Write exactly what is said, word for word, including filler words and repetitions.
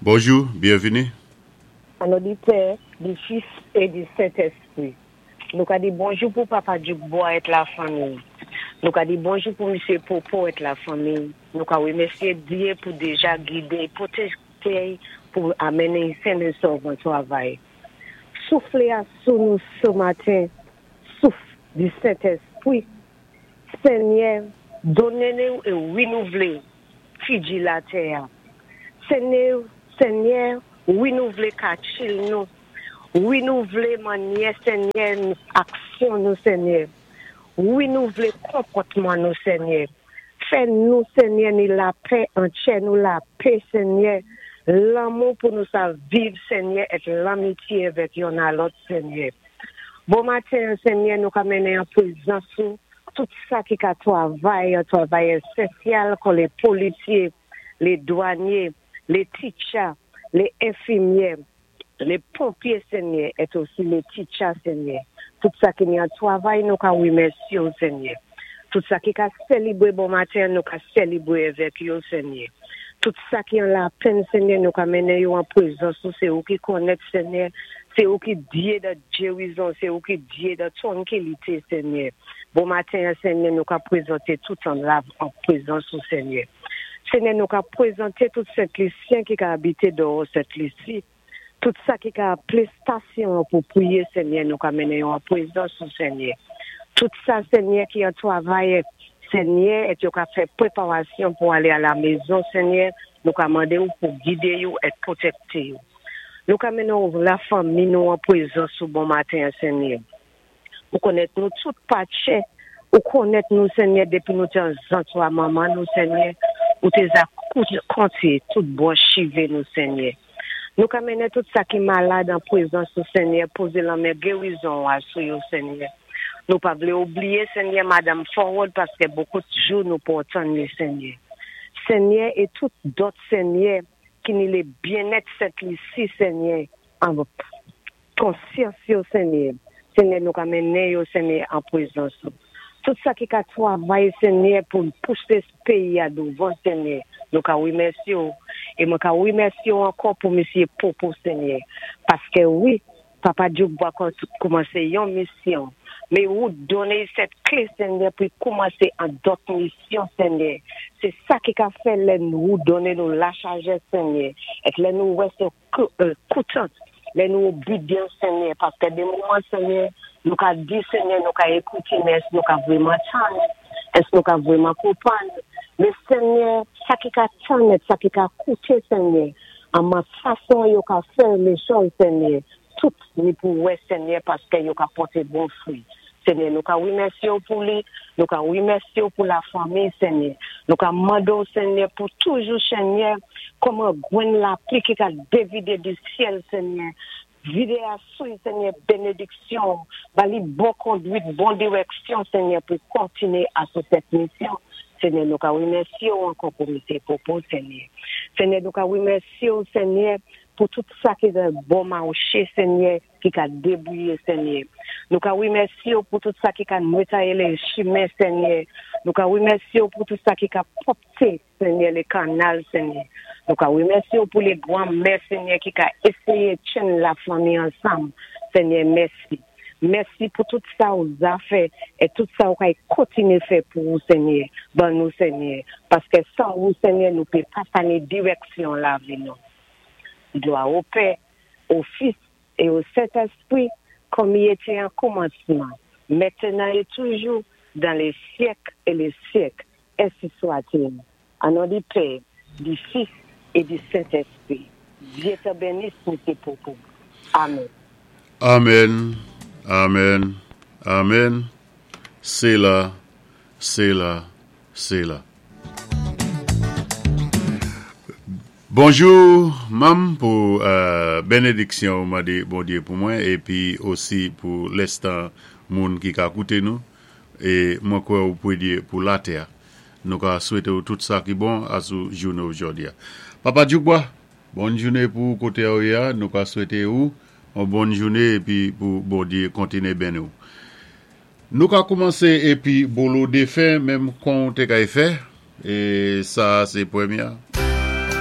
Bonjou, byenvini. An non di Pè, di Fis é di Sentèspwi. Nou ka di bonjou pou Papa Djoukbois é lafanmi. Nou ka di bonjou pou Misyé Popo é lafanmi. Nou ka wimèsyé Dye pou déja gidé, pwotéjé pou amenné sen é sòv an twavay. Souflé asou nou sé maten, souf di Sentèspwi. Senyè, donné nou é winouvlé figi latè. Senyè, Senyè, winouvlé katchil nou. Winouvlé mannyè, Senyè, aksyon nou, Senyè. Winouvlé konpòtman nou, Senyè. Fè nou, Senyè, ni lapè antjè nou lapè, Senyè. Lanmou pou nou sa viv, Senyè, é lanmityé avèk youn a lòt, Senyè. Bon maten, Senyè, nou ka mennen an pwézans ou, tout sa ki ka twavay, yon twavay ésansyèl kon lé polisyé, lé dwanyé, lé teacher, lé enfimyè, lé ponpyé, Senyè, é osi lé teacher, Senyè. Tout sa ki ni an twavay, nou ka wimèsyé ou, Senyè. Tout sa ki ka sélébwé bon maten, nou ka sélébwé avèk yo, Senyè. Tout sa ki an lapenn, Senyè, nou ka mennen yo an pwézans ou, sé ou ki konnèt, Senyè. Sé ou ki Dye de gérizon, sé ou ki Dye de twankilité, Senyè. Bon maten, Senyè, nou ka pwézanté tout an la an pwézans ou, Senyè. Senyè, nou ka pwézanté tout Sent Lisyen ki ka abité dèwò Sent Lisi. Tout sa ki ka aplé stasyon pou pwiyé, Senyè, nou ka mennen yo an pwézans ou, Senyè. Tout sa, Senyè, ki an twavay, Senyè, é yo ka fè pwéparasyon pou alé a la mézon, Senyè, nou ka mandé ou pou gidé yo é pwotékté yo. Nou ka mennen lafanmi nou an pwézans ou bon maten, Senyè. Ou konnèt nou tout patchè, ou konnèt nou, Senyè, dépi nou té an zantray manman nou, Senyè, ou té za konté tout bwanch chivé nou, Senyè. Nou ka mennen tout sa ki malad an pwézans ou, Senyè, pozé lanmen gérizon asou yo, Senyè. Nou pa vlé oubliyé, Senyè, Madam Forward, paské bokou jou nou pou tann li, Senyè. Senyè, é tout dòt, Senyè, ki ni lé byennèt Sent Lisi, Senyè, an konsyans yo, Senyè. Senyè, nou ka mennen yo, Senyè, an pwézans ou. Tout sa ki ka twavay, Senyè, pou pousé péyi a douvan, Senyè. Nou ka wimèsyé ou. É mwen ka wimèsyé ou ankò pou Misyé Popo, Senyè. Paské wi, Papa Djoukbois koumansé yon misyon. Mé ou donné sèt klé, Senyè, pou koumansé an dòt misyon, Senyè. Sé sa ki ka fè lè nou donné nou lasajès, Senyè. É lè nou wè sé koutant, lè nou obédyan, Senyè. Paské dé moman, Senyè, nou ka di, Senyè, nou ka ékouté, mé èske nou ka vwèman tann? Èske nou ka vwèman konpwann? Mé Senyè, sa ki ka tann, sa ki ka kouté, Senyè, an man fason yo ka fè lé chòz, Senyè, tout ni pou wè, Senyè, paské yo ka pòté bon fwi. Senyè, nou ka wimèsyé ou pou li, nou ka wimèsyé ou pou lafanmi, Senyè. Nou ka mandé ou, Senyè, pou toujou, Senyè, kòm gwenn lapli ki ka dévidé di syèl, Senyè. Vidé asou, Senyè, bénédiksyon, ba li bon kondwit, bon diwèksyon, Senyè, pou kontiné asou sèt misyon. Senyè, nou ka wimèsyé ou ankò pou Misyé Popo, Senyè. Senyè, nou ka wimèsyé ou, Senyè, pou tout sa ki de bon mawché, Senyè, ki ka débwouyé, Senyè. Nou ka wimèsyé ou pou tout sa ki ka netwayé lé chimen, Senyè. Nou ka wimèsyé ou pou tout sa ki ka pwòpté, Senyè, lé kannal, Senyè. Nou ka wimèsyé ou pou lé gwan mè, Senyè, ki ka éséyé tjenn lafanmi ansanm. Senyè, mèsi. Mèsi pou tout sa ou za fè é tout sa ou kay kontiné fè pou ou, Senyè. Ban nou, Senyè. Paské san ou, Senyè, nou pé pa sa ni diwèksyon lavi nou. Glwa o Pè, o Fis é o Sentèspwi, kòm i été an koumansman, mentnan é toujou, dan lé syèk é lé syèk, ensi swa-t-il. An non di Pè, di Fis é di Sentèspwi. Dye té bénis, Misyé Popo. Amen. Amen, amen, amen. Séla, Séla, Séla. Bonjou, manm, pou euh, bénédiksyon ou mandé Bondyé pou mwen épi osi pou lèstan moun ki ka kouté nou é mwen kwè ou pwéyé pou latè. Nou ka swété ou tout sa ki bon asou jouné jòdi a. Papa Djoukbois, bòn jouné pou koté ou yé a, nou ka swété ou yon bòn jouné épi pou Bondyé kontiné béni ou. Nou ka koumansé épi bolo défen menm kon té kay fè é sa sé pwémyé.